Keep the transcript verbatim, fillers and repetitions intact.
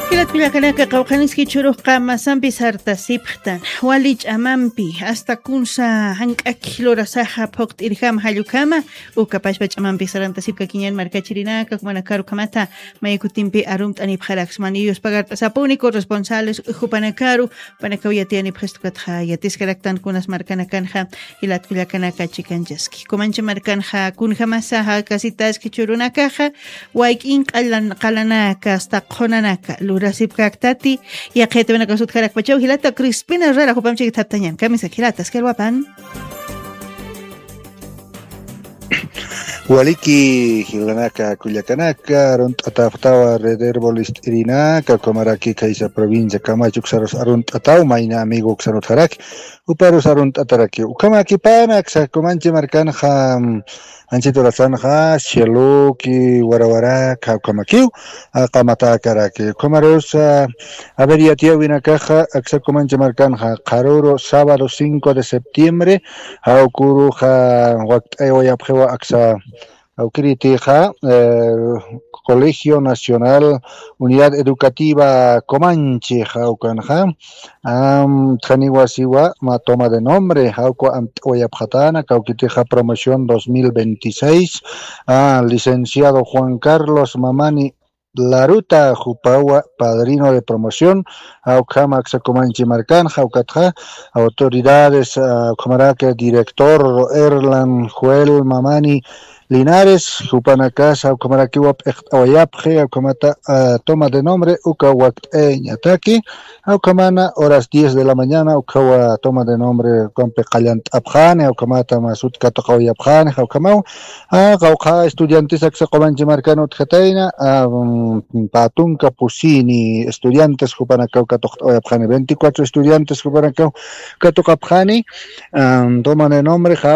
Jilat kullakanaka, qawqhaniski churux qamasampi sartasipxtan, wali ch'amampi, hasta kunsa jank'aki lurasaxa phuqt'irjama jallukama, uka pachpa ch'amampi sarantasipkakiñan markachirinaka, jumanakaru ukhamata, maykutimpi arumt'anipxaraksma, niyus pagart'asapuni corresponsales jupanakaru, jupanakaw yatiyanipxistukatxa yatiskaraktan kunas markanakanxa, jilat kullakanaka chikanchaski. Kumanchi markanxa kunjamasa jakasitaski churunakaxa, wayk'in qalan-, qalanaka, hasta qhunanaka, lurasipkaktati, yaqhitawinaka sutjarakpachaw, jilata Crispina Herrera, jupamchik thaptañan, kamisaki jilata, askalwapan. Waliki jilanaka kullakanaka, arunt'atapxtawa Red Herbol ist'irinaka, ukhamaraki khaysa provincia Camacho uksarus arunt'ataw, mayna amigo uksarutxaraki, uparus arunt'ataraki. Ukhamakipana aksa Kumanchi markanxa, mm, anchit urasanxa, Cieloki, Warawaraka, ukhamakiw, a, qamatäkaraki. Ukhamarus, a, a ver, yatiyäwinakaxa, aksa Kumanchi markanxa, qharüru sábado cinco de septiembre, jawküruxa wakt'aywayapxiwa aksa, jawkiritixa, eh, Colegio Nacional Unidad Educativa Comanche, jawkanxa, am, tjaniwasiwa, ma toma de nombre, jawkwa amt'awayapxatäna, kawkitixa promoción dos mil veintiséis, a, licenciado Juan Carlos Mamani Laruta, jupawa padrino de promoción, a, ukhama aksa Kumanchi markanxa, ukatxa, autoridades, a, ukhamaraki director Erlan Joel Mamani Linares, jupanakasa, ukhamarakiwa p'iqt'awayapxi, ukhamata, a, toma de nombre, uka wakt'ayañataki, ukhamana horas diez de la mañana, ukhawa toma de nombre, ukampi qallant'apxani, ukhamata masut katuqawayapxani, ukhamaw, a, qawqha estudiantes aksa Kumanchi markan utjatayna, a, mm, pä tunka pusini estudiantes jupanakaw katuqt'awayapxani, veinticuatro estudiantes jupanakaw katuqapxani, a, toma de nombre, jaw,